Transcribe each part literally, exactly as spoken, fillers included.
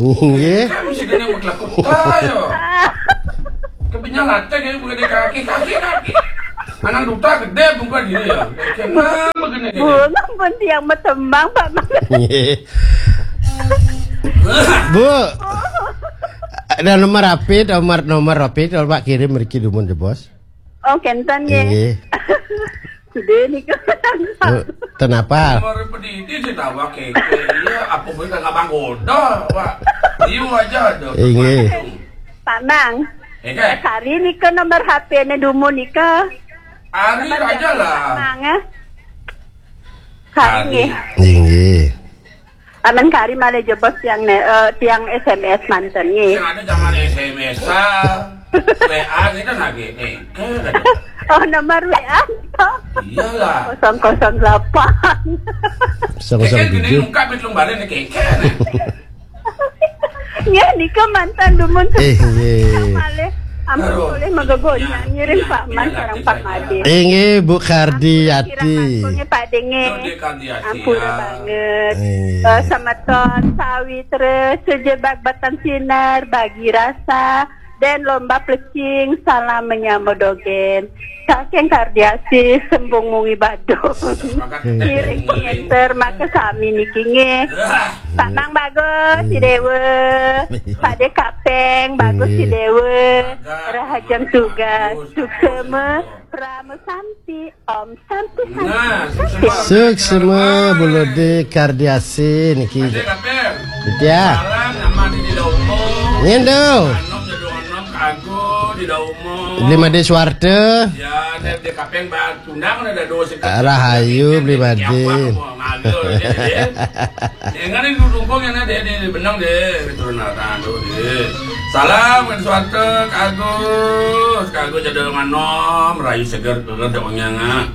Nggih. Kan mesti kena berkelakuan ya. Kebinya latih ya, bukan di kaki, kaki, kaki. Anak duta gede bukan dia ya. Kenapa begini gini? Bunga pun tiang metembang, Pak Mang. Nggih. Bu. Ada nomor H P, nomor nomor H P, kalau Pak kirim mriki dumun, Bos. Oh, kenten nggih. Nggih. Sudah nih kan. Bu, kenapa? Nomor pedidi sih tawa keke. Iya, apa boleh kagak banggoda, Pak? Iu aja ada. Nggih. Pak Mang. Eh, kan? Kari nika nomor H P-ne dumun nika. Ari aja lah. Mang ya. Kari nggih. Nggih. Aman kari malah jebos tiang ne, eh, tiang S M S manten nggih. Yang ada zaman S M S-an, W A gitu lagi. Eh, kan ada. Oh, nomor W A. Iyalah. Kosong kosong delapan. Kosong Keke kosong gini tujuh. Lengkap itu lembaran keke. Ya, nika manten dumun. Eh, nggih. Malih ampun Aduh. boleh megegonya ngiring Pak Mang sareng Pak Made. Inggih, Bu Kardiati. Nggih, Pak Denge. Itu dia Kardiati, Ampura ya. Banget. Inggih. Eh, semeton sawitra sejebak batang sinar bagi rasa dan lomba plecing salam menyambut dogen. Saking Kardiasi sembung mungi badung. Kiring ngenter maka sami niki nggih. Pak Mang Bagus si Dewa. Pak De Kapeng Bagus si Dewa. Rahajeng tugas. Suksema. Rama Santi. Om Santi. Nah, Santi. suksema. Suksema Bu Lode Kardiasi niki. Ada kabar? Ya. Salam nama di Daumo. Ngindo. Anom jadi anom kago di Daumo. Beli Made Suwarte. Ya, dia dia kapeng ba tundang ada dosa. Rahayu, Beli Made. Ngambil dia. Yang ada di dukung yang ada di benang deh, keturunan tuh deh. Salam kan suatu kago, kago jadi anom, rayu seger tuh dongnya nggak.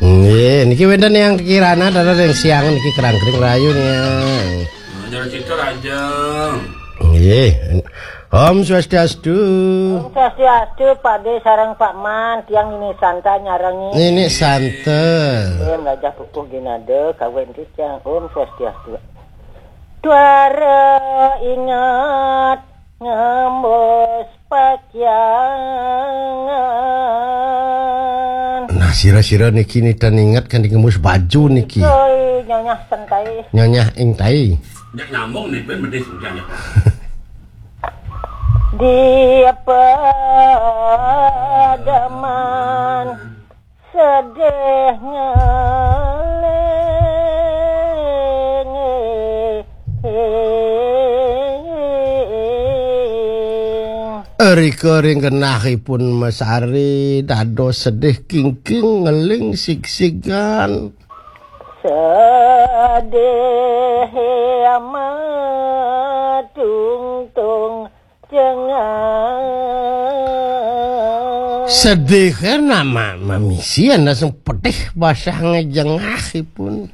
Nggih, niki wénten yang kirana, ada yang siang niki kerangkring rayu nih. Nah, jadi situ aja. Nggih. Om Swastiastu. Swastiastu, Pak De sareng Pak Man, tiang ini Santa nyarengi. Nini Santa. Em rajah pupuh ginade kawin titiang. Om Swastiastu. Tuara ingat ngembus pakyangan. Nah, sira-sira niki nita inget kan ngembus baju niki. Soi nyonyah sentai. Nyonyah ing tai. Nggak nyambung nih, ben medis udah ya. Di pedeman sedih ngeling. Rika ring genahipun mesari dados sedih kingking ngeling sigsigan. Sedih amat tungtung jengah. Sedih nama mamisi ana sing pedih basah ngejengahipun.